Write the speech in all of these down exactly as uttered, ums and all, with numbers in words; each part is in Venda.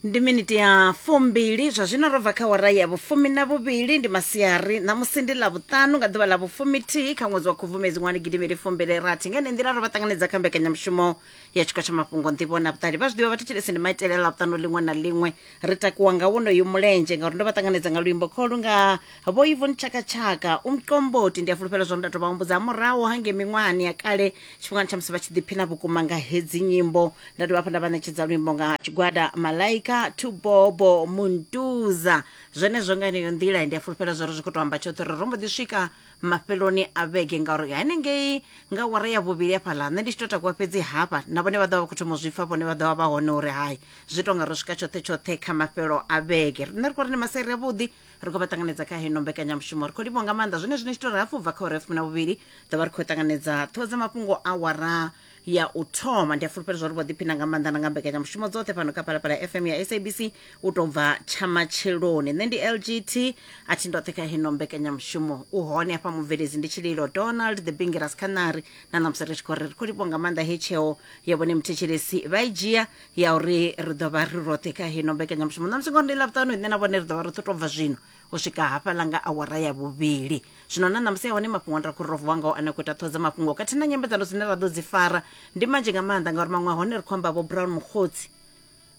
Ndi miniti ya fumbili zwa zwino ro bva kha wara ya vhufumi na vhuvhili. Ndi masiari ṋamusi ndi ḽa vhuṱanu nga ḓuvha ḽa vhufumithihi kha ṅwedzi wa Khubvumedzi ṅwani gidimili fumbili rathi. Nga ene nḓila ro vha ṱanganedza kha mbekanyamushumo ya tshikwa tsha mafhungo nḓivho na vhuṱali. Vha zwi ḓivha vhathetshelesi ndi maitele a ḽavhuṱanu ḽiṅwe na ḽiṅwe ri takuwa nga wonoyu mulenzhe ngauri ndo vha ṱanganedza nga luimbo kholu nga Vho Yvonne Chaka Chaka umqomboti. Ndi a fulufhela zwo nda tou vha humbudza murahu hangei miṅwahani ya kale tshifhingani tsha musi vha tshi ḓiphina vhukuma nga hedzi nyimbo. Nda dovha hafhu nda vha ṋetshedza luimbo nga tshigwada Malaika Tubobo Muntuza. Zwenezwo nga yeneyo nḓila ndi a fulufhela zwo ri zwi khou tou amba tshoṱhe uri ro mbo ḓi swika mafheloni a vhege ngauri hanengei nga wara ya vhuvhili hafhaḽa nṋe ndi tshi to takuwa fhedzi hafha na vhone vha ḓo vha vha khou thoma u zwi pfa, vhone vha ḓo vha vha hone uri hai zwi tonga ro swika tshoṱhe tshoṱhe kha mafhelo a vhege. Riṋe ri khou ri ndi masiari avhuḓi, ri khou vha ṱanganedza kha heno mbekanyamushumo. Ri khou livhuwa nga maanḓa zwine zwine tshi tou ri hafhu bva kha uri ya fumi na vhuvhili ḓo vha ri khou ṱanganedza ṱhoho dza mafhungo a wara ya u thoma. Ndi a fulufhela zwa uri vho ḓiphina nga maanḓa na nga mbekanyamushumo dzoṱhe fhano kha Phalaphala F M ya S A B C u tou bva tsha matsheloni. Nṋe ndi L G T a thi ndoṱhe kha heno mbekanyamushumo, u hone hafha mubveledzi ndi Tshililo Donald the Bingiras Khanari na ṋamusi ri tshi khou ri ri khou livhuwa nga maanḓa he tsheo ya vhone muthetshelesi vha i dzhia ya uri ri ḓo vha ri roṱhe kha heno mbekanyamushumo ṋamusi ngori ndi ḽavhuṱanu nṋe na vhone ri ḓo vha ri ḓo tou bva zwino u swika hafhaḽa nga awara ya vhuvhili. Zwino na ṋamusi hone mafhungo nda khou ro vuwa ngao ane a khou ita ṱhoho dza mafhungo khathihi na nyambedzano dzine ra ḓo dzi fara ndi manzhi nga maanḓa ngauri maṅwe a hone ri khou amba Vho Brown Mogotsi.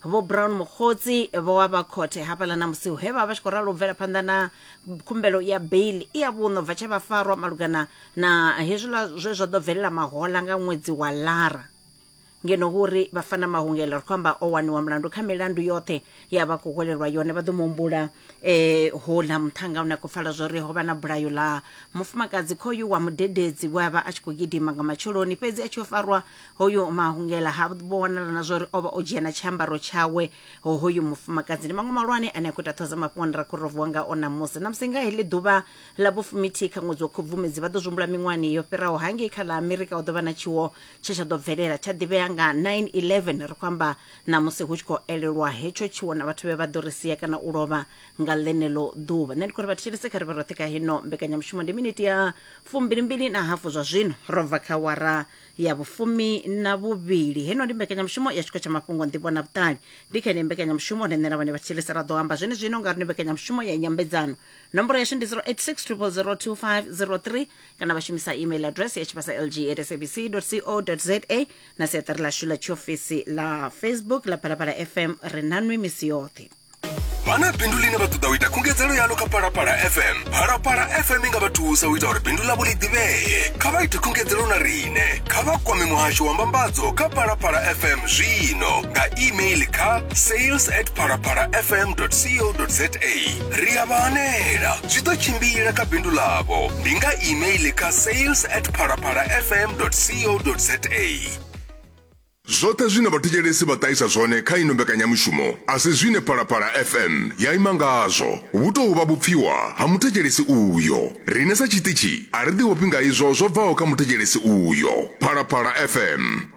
Vho Brown Mogotsi vho wa vha khothe hafhaḽa na musi he vha vha tshi khou ralo u bvela phanḓa na khumbelo ya bail i ya vhuṋo bva tshe vha farwa malugana na hezwiḽa zwe zwa ḓo bvelela mahola nga ṅwedzi wa Lara. Ngeno hu uri Bafana Mahungela ri khou amba o waniwa mulandu kha milandu yoṱhe ya vha khou hwelelwa yone. Vha ḓo muhumbula eh, houḽa muṱhannga une a khou pfala zwo ri ho vha na bulayo ḽa mufumakadzi khoyu wa mudededzi we a vha a tshi khou gidima nga matsheloni fhedzi a tshi yo farwa hoyu Mahungela ha vho wanala na zwo ri o vha o dzhia na tshiambaro tshawe hoyu mufumakadzi. Ndi maṅwe malwane ane a khou ita ṱhoho dza mafhungo ane ra khou ro vuwa ngao ṋamusi. Ṋamusi nga heḽi ḓuvha ḽa vhufumithihi kha ṅwedzi wa Khubvumedzi vha ḓo zwi humbula miṅwahani yo fhiraho hangei kha ḽa Amerika hu ḓo vha na tshiwo tshe tsha ḓo bvelela tsha ḓivhea nga nine eleven. Ri khou amba ṋamusi hu tshi khou elelwa hetsho tshiwo na vhathu vhe vha ḓo ri sia kana u lovha nga ḽeneḽo ḓuvha. Nṋe ndi khou ri vha thetshelese kha ri vhe roṱhe kha hino mbekanyamushumo. Ndi miniti ya fumbilimbili na hafu zwa zwino ro bva kha wara ya vhufumi na vhuvhili. Heno ndi mbekanyamushumo ya tshikho tsha mafhungo nḓivho na vhuṱali. Ndi kha ine mbekanyamushumo nṋe na vhone vha thetshelese ra ḓo amba zwene zwino ngauri ndi mbekanyamushumo ya nyambedzano. Nomboro yashu ndi zero eight six triple zero two five zero three kana vha shumisa email address ya tshivhasa L G at S A B C dot C O dot Z A na siaṱari ḽashu ḽa tshiofisi ḽa Facebook ḽa Phalaphala F M. Ri nanwi misi yoṱhe. Vha na bindu ḽine vha ṱoḓa u ita khungedzelo yalo kha Phalaphala F M. Phalaphala F M i nga vha thusa u ita uri bindu ḽavho ḽi ḓivhee. Kha vha ite khungedzelo na riṋe. Kha vha kwame muhasho wa mbambadzo kha Phalaphala F M zwino nga email kha sales at phalaphala f m dot co dot za. Ri a vha hanela, zwi ḓo tshimbila kha bindu ḽavho. Ndi nga email kha sales at phalaphala f m dot co dot za. Zwoṱhe zwine vhathetshelesi vha ṱahisa zwone kha ino mbekanyamushumo a si zwine Phalaphala F M ya ima ngazwo. Vhu tou vha vhupfiwa ha muthetshelesi uyo. Riṋe sa tshiṱitshi a ri ḓi ofhi nga izwo zwo bvaho kha muthetshelesi uyo. Phalaphala F M.